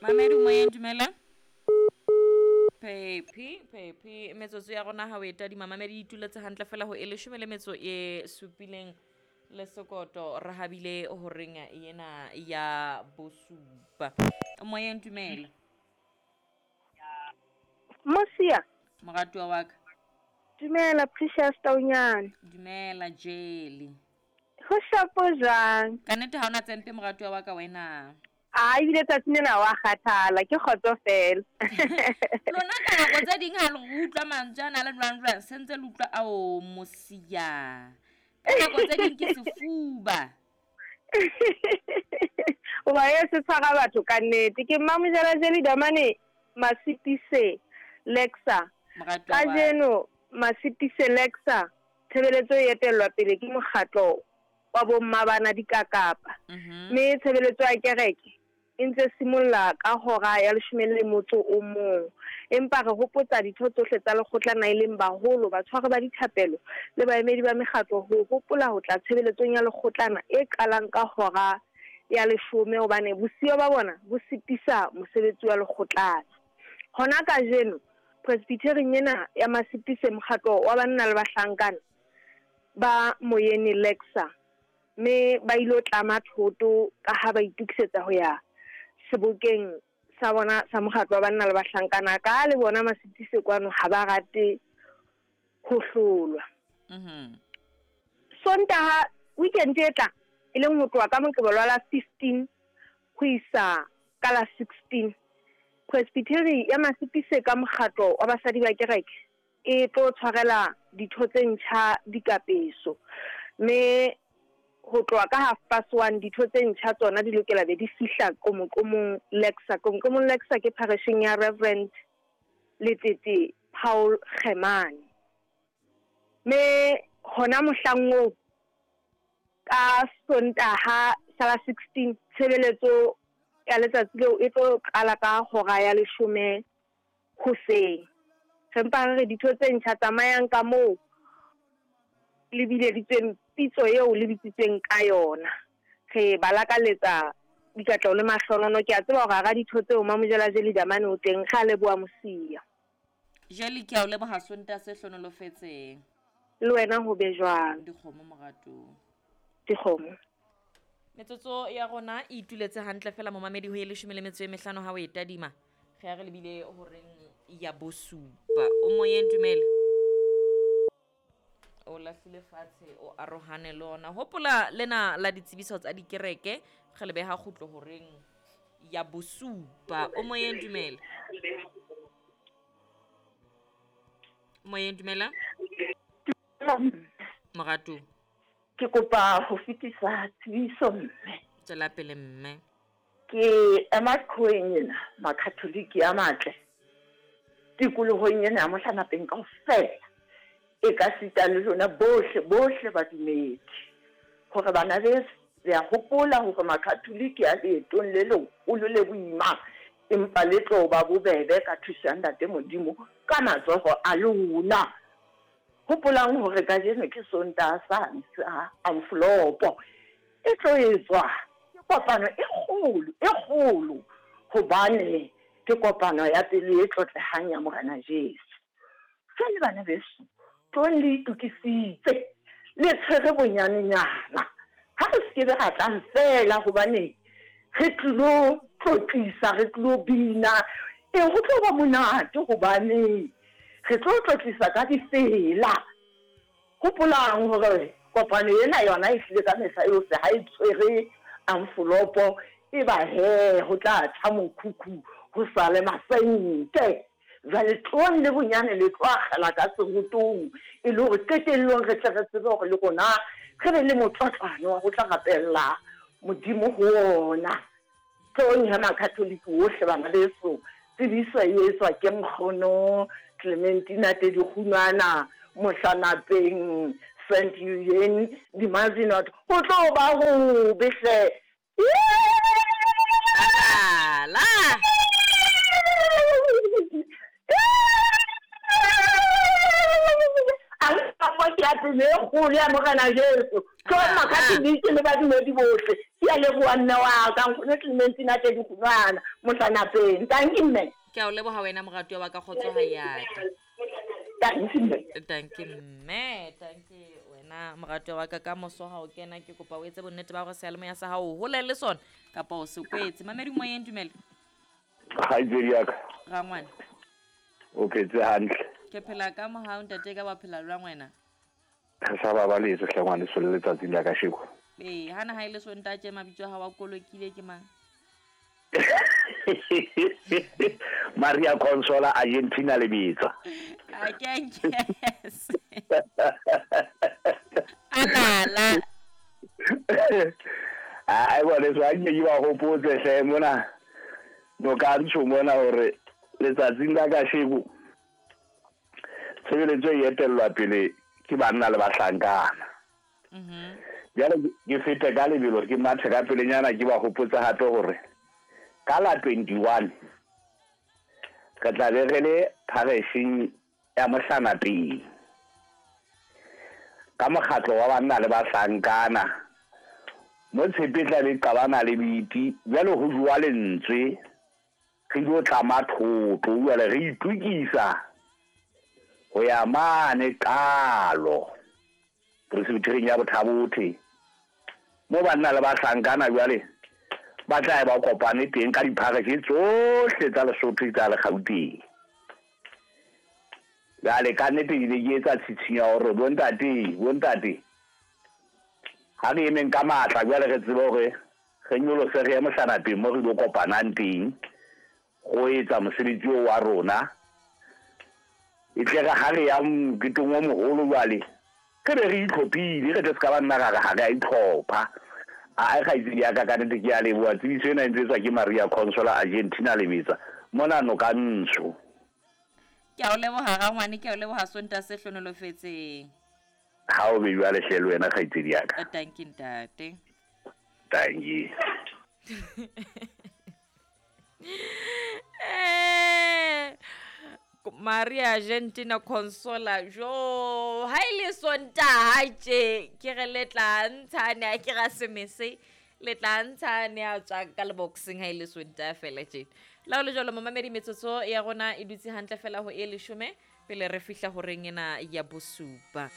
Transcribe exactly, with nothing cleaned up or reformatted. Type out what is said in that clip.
Mamedi moyeng, dumela. Pepi pepi, metsotso ya rona ha o e tadima mamedi e ituletse hantle fela ho e leshome le metso e supileng le sekoto re habile horeng ena ya bosupa. Moyeng, dumela. Mosia. Moratuwa wa ka. Dumela Precious Taunyane. Dumela Jelly. Ho shapo jwang? Ka nnete ha ona tsempe moratuwa wa ka wena. A ebile tsatsing lena wa kgathala, ke kgotso fela. Lona ka nako tse ding ha le utlwa mantswe ana le jwang jwang, se ntse le utlwa ao Mosia. Ka nako tse ding ke sefuba. Hoba e se tshwara batho ka nnete. Ke Mmamojela Jelly Damane Masitise Lexa. Moratuwa wa ka. Kajeno Masitise Lexa tshebeletso e etellwa pele ke mokgatlo wa bomma bana dikakapa. Mhm. Mme tshebeletso ya kereke e ntse simolla ka hora ya leshome le motso o mong. Empa re hopotsa ditho tsohle tsa lekgotlana e leng baholo, batshwari ba dithapelo le baemedi ba mekgatlo ho hopola ho tla tshebeletsong ya lekgotlana e qalang ka hora ya leshome, hobane bosiyo ba bona bo sitisa mosebetsi wa lekgotlana. Hona kajeno presbyterieng ena ya Masitise, mokgatlo wa banna le bahlankana ba Moyeni Lexa, mme ba ilo tlama thoto ka ha ba itokisetsa ho ya sebokeng sa bona sa mokgatlo wa banna le bahlankana. Ka le bona Masitise kwano ha ba rate ho hlolwa. Mhm. Sontaha weekend e tlang, e leng ho tloha ka Moqebelo wa la fifteen ho isa ka la sixteen, Presbytery ya Masitise ka mokgatlo wa basadi ba kereke e tlo tshwarela ditho tse ntjha dikapeso. Mme ho tloha ka half past one ditho tse ntjha tsona di lokela be di fihla Qomoqomong Lexa. Qomoqomong Lexa ke parisheng ya Reverend Letete Paul Kgemane. Mme hona mohlang oo ka Sontaha sa la sixteen, tshebeletso ya letsatsi leo e tlo qala ka hora ya leshome hoseng. Re mpa re re ditho tse ntjha tsamayang ka moo le bileditsweng pitso eo le bitsitsweng ka yona. Re ba lakaletsa dikatleho le mahlonono. Ke a tseba hore hara ditho tseo Mamojela Jelly Damane o teng. Re a leboha Mosia. Jelly, ke a o leboha Sontaha se hlonolofetseng. Le wena ho be jwalo. Dikgomo moratong. Dikgomo. Metsotso ya rona e ituletse hantle fela momamedi ho e leshome le metso e mehlano ha o e tadima. Re ya re lebile horeng ya bosupa. O moyeng, dumela. O lahlile fatshe, o arohane le ona. Hopola lena la ditsebiso tsa dikereke, re le beha kgutlo horeng ya bosupa. O moyeng, dumela. Moyeng, dumela. Moratu. Ke kopa ho fetisa tsebiso mme. Tswela pele mme. Ke ema qhoweng ena, Makatholike a matle. Tikolohong ena ya Mohlanapeng kaofela. E ka sita le lona bohle, bohle badumedi. Hore bana beso, le a hopola hore Makatholike a leetong le leholo le boima, empa le tlo ba bobebe ka thuso ya Ntate Modimo ka matsoho a lona. Hopolang hore kajeno ke Sontaha sane sa Amfolopo. E tlo etswa ke kopano e kgolo, e kgolo, hobane ke kopano ya pele e tlotlehang ya Morena Jesu. Jwale bana beso, tlohong le itokisitse, le tshwere bonyanenyana. Ha re se kebe ra tlang fela hobane re tlilo tlotlisa, re tlilo bina. E ho tlo ba monate hobane re tlo tlotlisa ka difela. Hopolang hore kopano ena yona e hlile ka mehla yohle ha e tshwere amfolopo, e ba he ho tla tjha mokhukhu ho sale masente. Jwale tlohong le bonyane le tlo akgela ka serotong, e le hore qetellong re tle re tsebe hore le rona re be le motlotlwane wa ho tla rapella Modimo ho ona. Tlohong he Makatholike ohle bana beso, tsebiso e etswa ke nkgono Clementina Tedikgunwana, Mohlanapeng, Saint Eugene, Dimazinot. Ho tlo ba hobe hle. La. A le ka mo ke ya pele e kgolo ya Morena Jesu. Tlohong Makatholike le badumedi bohle. Ke a leboha mme wa ka, nkgono Clementina Tedi Kgunwana, Mohlanapeng. Tanki mme. Ke a o leboha wena moratuwa wa ka, kgotso ha ya ka. Tanki mme. Tanki mme, tanki wena moratuwa wa ka. Ka moso ha o kena, ke kopa o etse bonnete ba hore seyalemoya sa hao o hole le sona kapa o se kwetse. Mamedi moyeng, dumela. Kgaitsedi ya ka. Rangwane. O phetse hantle? Ke phela ka mohau, ntate, ka wa phela jwang wena? Re sa babaletse hle ngwaneso le letsatsing la kasheko. Ee, hana ha e le Sontaha tje, mabitso a hao a kolokile ke mang? Maria Consola Argentina Lebetsa. A ke a nkese. Alala. Ai ngwaneso, ha nke ke ba hopotse hle mona nokantsho mona hore letsatsing la kasheko tshebeletso e etellwa pele ke banna le bahlankana. Mhm. Jwale ke fete ka lebelo, ke mathe ka pelenyana, ke ba hopotse hape hore ka la twenty-one re tla be re le pharesheng ya Mohlanapeng ka mokgatlo wa banna le bahlankana mo tshepe tla be qabana le biti. Jwale ho jowa lentswe, re ilo tlama thoto, jwale re itukisa ho ya mane qalo presbyterian ya Bothabothe mo banna le bahlankana jwale ba tla ba kopane teng ka diphareshe tsohle tsa Lesotho tsa le Gauteng. Jwale ka nnete ke ne ke etsa tshitshinyo ya hore bontate, bontate, ha re emeng ka matla jwale re tsebe hore re nyolose re ye Mohlanapeng mo re ilo kopanang teng go etsa mosebetsi oo wa rona. E tle re ha re ya moketeng o moholo jwale re be re itlhophile, re tle se ka ba nna ra re ha re a itlhopha. Ae kgaitsedi ya ka, ka nnete ke a leboha. Tsebiso ena e ntse etswa ke Maria Consola Argentina Lebetsa mona Nokantsho. Ke a o leboha rangwane, ke a o leboha, Sontaha se hlohonolofetseng. Ha o be jwale hle le wena kgaitsedi ya ka. Tanki ntate. Tanki. Eh, Maria Argentina Consola, jo ha e le Sontaha tje ke re le tla ntshane, a ke ra semese le tla ntshane a tswa ka le boxing ha e le Sontaha fela tje. La ho le jwalo momamedi, metsotso ya rona e dutse hantle fela ho e leshome pele re fihla horeng ena ya bosupa.